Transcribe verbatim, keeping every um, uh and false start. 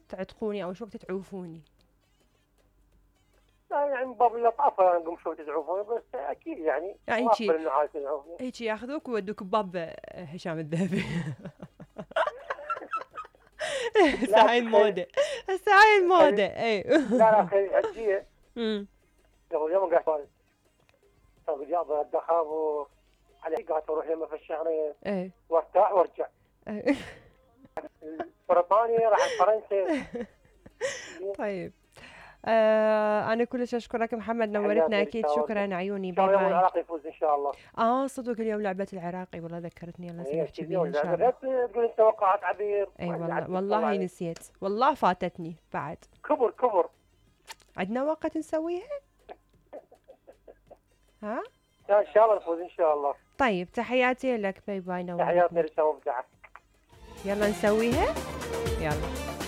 تعتقوني او شو وقت تعوفوني؟ لا يعني من باب اللطافه نقوم شوي تزعفوني بس اكيد يعني يعني ما هيجي اقبل انه عايز تزعفني. هيجي ياخذوك ويودوك بباب هشام الذهبي. هسه لا هاي تخيل. الموضة، هسه هاي تخيل. الموضة اي. لا لا خير هجيه. أمم. قبل يوم قاعد طيب جاب الدخاب وعلى قاعد اروح يمه في الشهرين اي وارتاح وارجع. اي. بريطانيا راح فرنسا. طيب آه انا كلش اشكرك محمد، نورتنا اكيد، شكرا عيوني، باي باي باي. باي. العراق يفوز ان شاء الله. اه صدق اليوم لعبة العراقي، والله ذكرتني، يلا هي سنحكي اكيد بيها اليوم ان شاء الله. تقول انت توقعات عبير. اي والله والله نسيت، والله فاتتني بعد. كبر كبر. عندنا وقت نسويها؟ ها؟ ان شاء الله نفوز ان شاء الله. طيب تحياتي لك، باي باي، نورتنا. تحياتي لسه مبدعة. يلا نسويها، يلا.